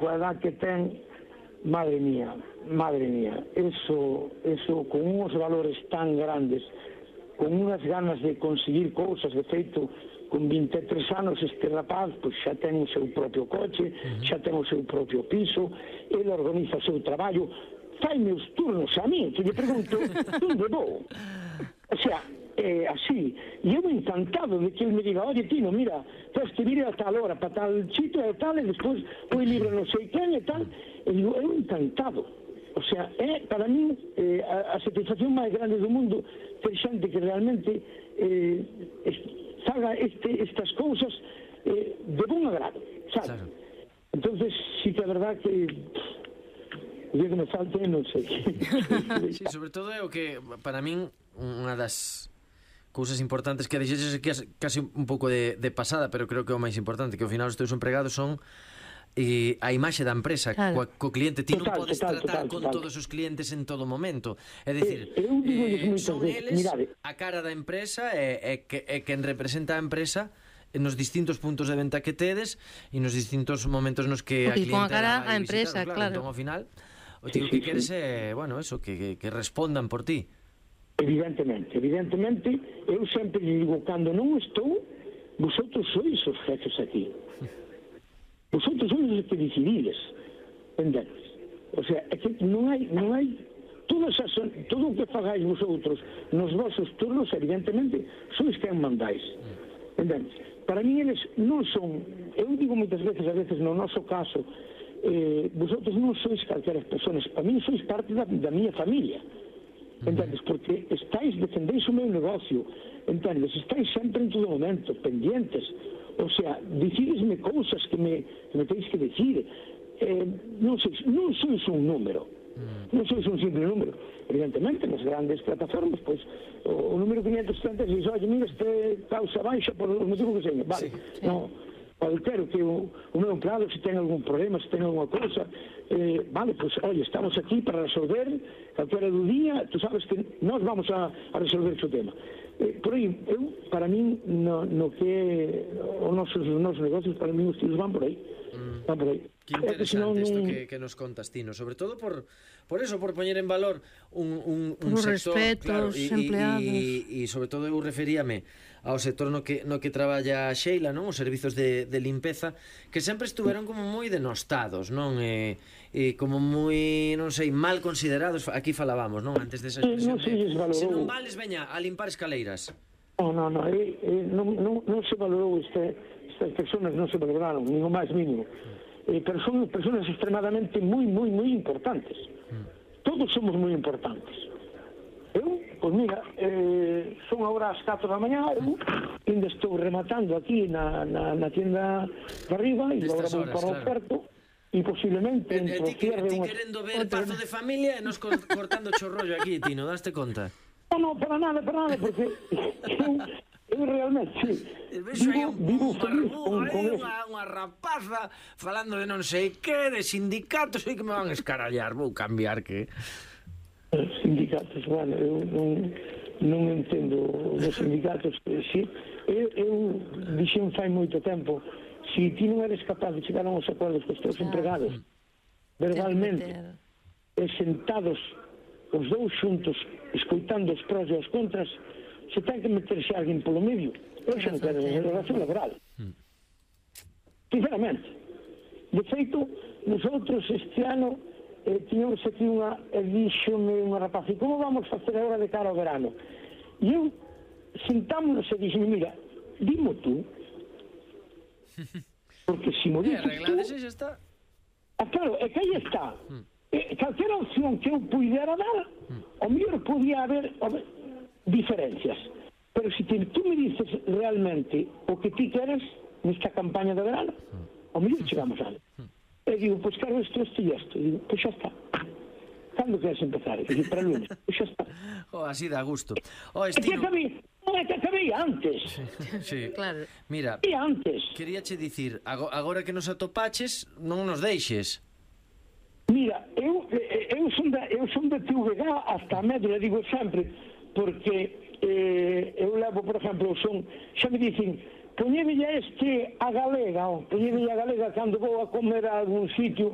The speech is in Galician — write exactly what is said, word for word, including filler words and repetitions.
coa edad que ten, madre mía, madre mía, eso, eso con unos valores tan grandes, con unhas ganas de conseguir cousas, de feito, con vinte e tres anos este rapaz pois xa ten o seu propio coche, uh-huh. xa ten o seu propio piso, ele organiza o seu traballo, fai meus turnos a mí, que lle pregunto onde vou, o sea, é así, e eu encantado de que ele me diga, oye Tino, mira, tens que vir a tal hora, para tal sitio e tal, e despois o libro non sei quen e tal, e digo, eu encantado. O sea, é para mí eh, a, a satisfacción máis grande do mundo ter xente que realmente eh, faga este, estas cousas eh, de bon agrado, sabe? Claro. Entonces, sí que é verdad que o día que me falte, non sei. Sí, sobre todo é o que, para min, unha das cousas importantes que dixeches que é casi un pouco de, de pasada, pero creo que é o máis importante, que ao final os teus empregados son e a imaxe da empresa, claro. co, co cliente. Ti non podes total, tratar total, con total. todos os clientes en todo momento. É dicir, eh, eh, son eles mirade. a cara da empresa e, e, que, e quen representa a empresa nos distintos puntos de venta que tedes e nos distintos momentos nos que a cliente con a cara a empresa, claro, claro. Entón, ao final, o tío sí, que sí, queres sí. é, bueno, eso, que, que, que respondan por ti. Evidentemente, evidentemente, eu sempre digo, cando non estou, vosotros sois os jefes aquí. Vosotros sois os que decidides, entendes? O sea, é que non hai, non hai todas as, todo o que fagáis vosotros nos vosos turnos, evidentemente, sois quen mandáis, entendes? Para mí eles non son, eu digo moitas veces, a veces no noso caso, eh, vosotros non sois calqueras personas, para mí sois parte da, da miña familia, entendes? Porque estáis, defendéis o meu negocio, entendes? Estáis sempre en todo momento, pendientes. O sea, decidesme cousas que me, que me tenéis que decir, eh, non, sois, non sois un número, mm. non sois un simple número. Evidentemente, nas grandes plataformas, pois, o, o número quinientos setenta e seis, oye, mira, este causa baixa por o motivo que seña, vale, sí, sí. non, quero que o, o meu empleado, se ten algún problema, se ten alguna cousa, eh, vale, pois, oye, estamos aquí para resolver, calquera do día, tú sabes que nós vamos a, a resolver o tema. Eh, por aí, eu, para min, no, no que os nosos, os nosos negocios, para min os tiros van por aí, mm. van por aí. Que interesante isto que, que nos contas, Tino, sobre todo por, por eso, por poñer en valor un, un, un sector, respeto claro, aos empleados. E sobre todo eu referíame ao sector no que, no que traballa Sheila, non? Os servizos de, de limpeza, que sempre estuveron como moi denostados, non? E, e como moi, non sei, mal considerados, aquí falábamos, non? Antes desa expresión de, se non vales, veña, a limpar escaleiras. Non, non, non, eh, eh, non, non, non se valorou este, estas personas, non se valoraron, nin o máis mínimo. Eh, pero son personas extremadamente moi, moi, moi importantes. Todos somos moi importantes. Eu, pois mira, eh, son agora as catro da mañá, eu ainda estou rematando aquí na, na, na tienda de arriba e agora vou para o oferto e posiblemente e, e ti, que, ti querendo ver Pazo de Familia e nos cortando chorrollo aquí, Tino, daste conta? Non, non, para nada, para nada, porque eu, eu realmente sí, vivo, vivo feliz con, con eso. Unha, unha rapaza falando de non sei que, de sindicatos, e que me van a escarallar, vou cambiar que... Sindicatos, bueno, eu non, non entendo os sindicatos, si, eu, eu dixen fai moito tempo, se ti non eres capaz de chegar a uns acordos cos teus empregados, verbalmente, e sentados os dous xuntos, escoitando os prós e os contras, se ten que meterse alguén polo medio, eu xa non quero en relación laboral. Sinceramente. De feito, nosotros este ano eh, tiñamos aquí unha, e díxome unha rapaz, e como vamos facer agora de cara ao verano? E eu sentámonos e dixeme, mira, dimo tú, porque se mo dices tú... xa está. Ah, claro, é que aí está. Eh, calquera opción que eu puidera dar, o mellor podía haber, haber diferencias. Pero se si tú me dices realmente o que ti queres nesta campaña de verano, o mellor chegamos a algo. E digo, pois quero isto, isto e isto. E digo, pois xa está. Cando queres empezar? E digo, para o lunes. Pois xa está. Oh, así dá gusto. Oh, Estino... É que acabei, non é que acabei antes. Sí, claro. Mira, e antes. Queríache dicir, agora que nos atopaches, non nos deixes. Mira, eu, eu, son da, eu son da T V G hasta a médula, digo sempre, porque eh, eu levo, por exemplo, son, xa me dicen, poñévelle este a galega, poñévelle a galega cando vou a comer a algún sitio,